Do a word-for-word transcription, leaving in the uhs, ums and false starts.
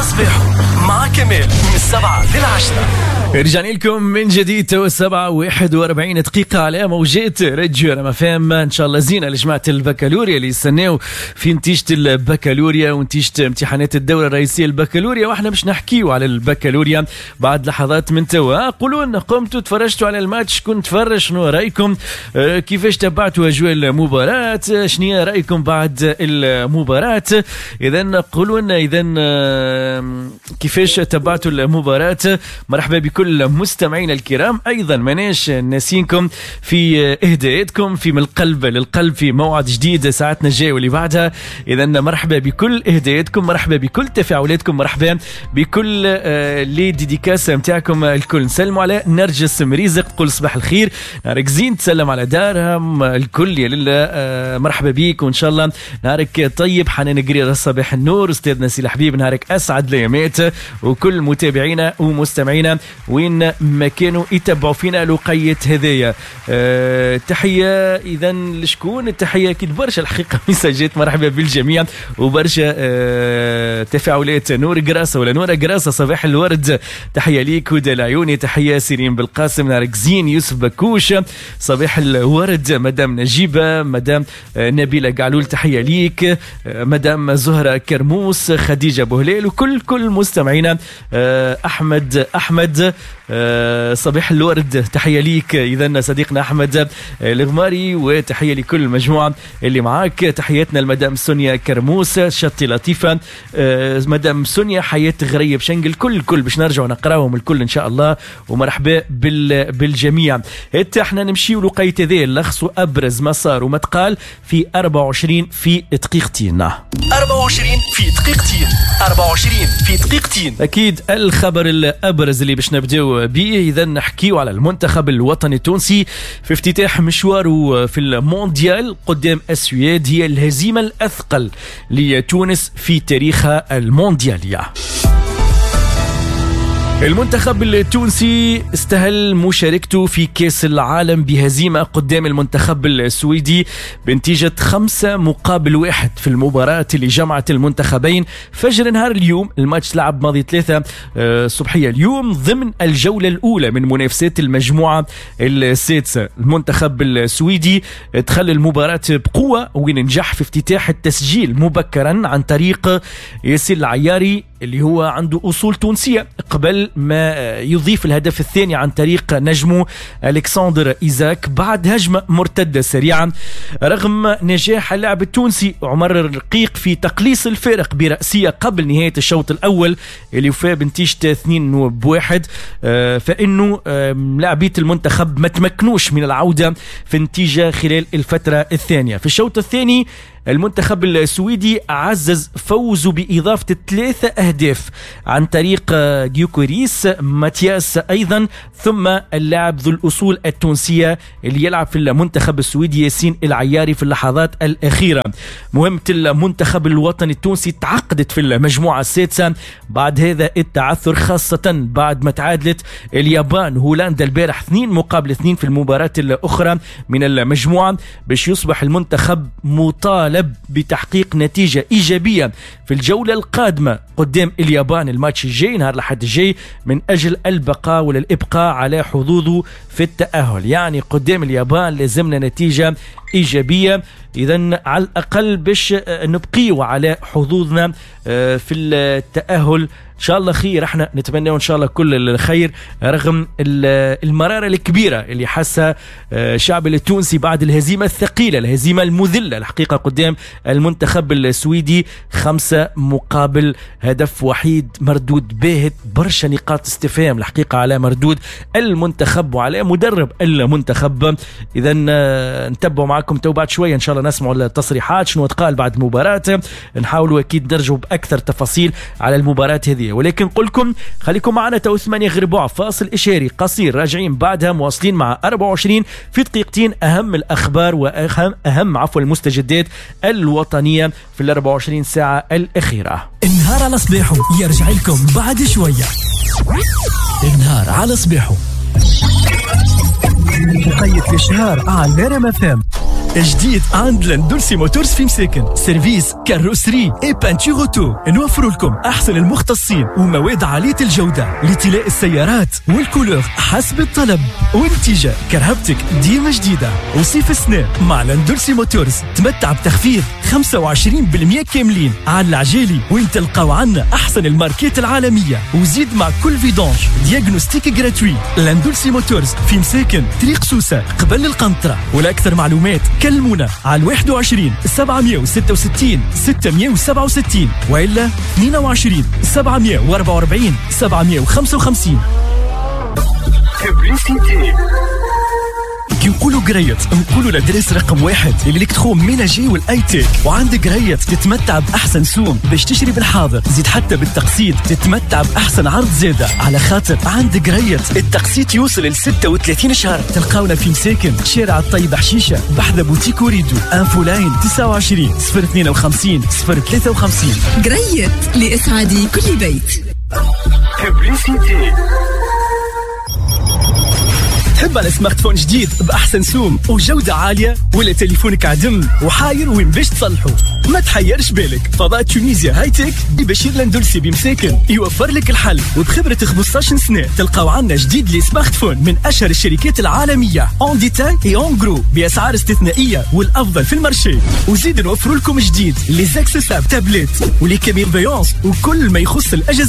على صباحه مع كمال من السبعة للعشرة. رجعنا لكم من جديد تو السبعة واحد وأربعين دقيقة على موجات راديو رما فام. إن شاء الله زينة لجماعة البكالوريا اللي يستناو في نتيجة البكالوريا ونتيجة امتحانات الدورة الرئيسية البكالوريا، واحنا باش نحكيو على البكالوريا بعد لحظات من توا. قولوا لنا قمتوا تفرجتوا على الماتش؟ كنت تفرج، شنو رأيكم؟ أه كيفاش تبعتوا أجواء المباراة؟ شنو رأيكم بعد المباراة؟ إذا قولوا لنا إذا كيفاش تبعتوا المباراة. مرحبا بكل المستمعين الكرام، ايضا ماناش ناسينكم في اهداءاتكم في من القلب للقلب في موعد جديد ساعتنا الجاية واللي بعدها. اذا مرحبا بكل اهداءاتكم، مرحبا بكل تفاعلاتكم، مرحبا بكل les dédicaces نتاعكم الكل. نسلموا على نرجس مريزق تقول صباح الخير، نهارك زين، تسلم على دارهم الكل يا لله، مرحبا بيك وان شاء الله نهارك طيب. حنان قرير صباح النور، استاذنا سي الحبيب نهارك اسعد الايامات، وكل متابعينا ومستمعينا وين ما كانوا يتبعوا فينا لقية هذايا. أه تحية إذا لشكون؟ التحية أكيد برشا الحقيقة ميساجات، مرحبا بالجميع وبرشا أه تفاعلات. نور جراسة ولا نورة جراسة صباح الورد، تحية ليك. هدى العيوني تحية، سيرين بالقاسم نارك زين، يوسف بكوش صباح الورد، مدام نجيبة، مدام نبيلة قعلول تحية ليك، مدام زهرة كرموس، خديجة بوهليل، وكل كل مستمعينا. أه أحمد أحمد أه صباح الورد تحية ليك إذن صديقنا أحمد الغماري، وتحية لكل المجموعة اللي معاك. تحياتنا لمدام سونيا كرموس، شطي لطيفة، أه مدام سونيا، حياة غريب شنقل، كل كل باش نرجعوا نقراهم الكل إن شاء الله، ومرحبا بال بالجميع. حتى احنا نمشيو لقيت ذي لخصوا أبرز ما صار وما تقال في أربعة وعشرين في دقيقتين. أربعة وعشرين في دقيقتين، أربعة وعشرين في دقيقتين. أكيد الخبر الأبرز اللي باش نبداو به، إذا نحكيو على المنتخب الوطني التونسي في افتتاح مشواره في المونديال قدام السويد، هي الهزيمة الأثقل لتونس في تاريخها المونديالية. المنتخب التونسي استهل مشاركته في كأس العالم بهزيمة قدام المنتخب السويدي بنتيجة خمسة مقابل واحد في المباراة اللي جمعت المنتخبين فجر نهار اليوم. الماتش لعب ماضي ثلاثة صبحية اليوم ضمن الجولة الأولى من منافسات المجموعة السادسة. المنتخب السويدي دخل المباراة بقوة وين نجح في افتتاح التسجيل مبكرا عن طريق ياسين العياري اللي هو عنده أصول تونسية، قبل ما يضيف الهدف الثاني عن طريق نجمه ألكسندر إيزاك بعد هجمة مرتدة سريعا. رغم نجاح اللاعب التونسي عمر الرقيق في تقليص الفارق برأسية قبل نهاية الشوط الأول اللي وفى بنتيجة اثنين بواحد، فإنه لاعبية المنتخب ما تمكنوش من العودة في النتيجة خلال الفترة الثانية. في الشوط الثاني المنتخب السويدي عزز فوزه بإضافة ثلاثة أهداف عن طريق جيوكوريس ماتياس أيضا، ثم اللاعب ذو الأصول التونسية اللي يلعب في المنتخب السويدي ياسين العياري في اللحظات الأخيرة. مهمة المنتخب الوطني التونسي تعقدت في المجموعة السادسة بعد هذا التعثر، خاصة بعد ما تعادلت اليابان هولندا البارح اثنين مقابل اثنين في المباراة الأخرى من المجموعة، باش يصبح المنتخب مطالب بتحقيق نتيجة إيجابية في الجولة القادمة قدام اليابان الماتش الجاي نهار الأحد الجاي من أجل البقاء ولا الإبقاء على حظوظه في التأهل. يعني قدام اليابان لازمنا نتيجة إيجابية إذن على الأقل باش نبقيو على حظوظنا في التأهل. إن شاء الله خير، احنا نتمنى إن شاء الله كل الخير رغم المرارة الكبيرة اللي حاسها الشعب التونسي بعد الهزيمة الثقيلة، الهزيمة المذلة الحقيقة قدام المنتخب السويدي خمسة مقابل هدف وحيد. مردود باهت، برشا نقاط استفهام الحقيقة على مردود المنتخب وعلى مدرب المنتخب. إذا نتبعوا معكم تو بعد شوية إن شاء الله نسمعوا التصريحات شنو تقال بعد المباراة، نحاولوا أكيد نرجعوا بأكثر تفاصيل على المباراة هذه. ولكن قلكم خليكم معنا تو ثمانية غير ربع، فاصل إشاري قصير راجعين بعدها مواصلين مع أربعة وعشرين في دقيقتين أهم الأخبار وأهم أهم عفوا المستجدات الوطنية في ال أربعة وعشرين ساعة الأخيرة. النهار على صباحه يرجع لكم بعد شوية. النهار على صباحه مقيد في الشهر على نرم فام. جديد عند لندولسي Motors في مساكن، service carrosserie et peinture auto. نوفر لكم احسن المختصين ومواد عالية الجودة لطلاء السيارات وال couleur حسب الطلب، ونتيجة كرهبتك ديما جديده. وصيف السنة مع لندولسي Motors تمتع بتخفيض خمسة وعشرين بالمية كاملين على العجالي، وين تلقاو عنا احسن الماركات العالميه، وزيد مع كل vidange diagnostic gratuit. لندولسي Motors في مساكن، طريق سوسة قبل القنطره. ولاكثر معلومات كلمونا على واحد وعشرين سبعمية وستة وستين ستمية وسبعة وستين والا اثنين وعشرين سبعمية وأربعة وأربعين سبعمية وخمسة وخمسين. Publicité. كي نقولوا قريت نقولوا l'adresse رقم واحد l'électroménager وال high-tech. وعند قريت تتمتع باحسن سوم باش تشري بالحاضر، زيد حتى بالتقسيط تتمتع باحسن عرض زاده، على خاطر عند قريت التقسيط يوصل ل ستة وثلاثين شهر. تلقاونا في مساكن، شارع الطيب حشيشه، بحذا بوتيك وريدو. infoline تسعة وعشرين صفر اثنين وخمسين صفر ثلاثة وخمسين. قريت لإسعاد كل بيت. Publicité. تحب على smartphone جديد بأحسن سوم وجودة عالية، ولا تليفونك عدم وحاير وين باش تصلحه؟ ما تحيرش بالك، فضاء Tunisia High-Tech ببشير لندلسي بمساكن يوفر لك الحل. وبخبرة خمسطاش سنة تلقاو عنا جديد les smartphones من أشهر الشركات العالمية en détail et en gros بأسعار استثنائية والأفضل في ال marché. وزيد نوفر لكم جديد les accessoires، tablettes و les caméras surveillance وكل ما يخص الأجهزة.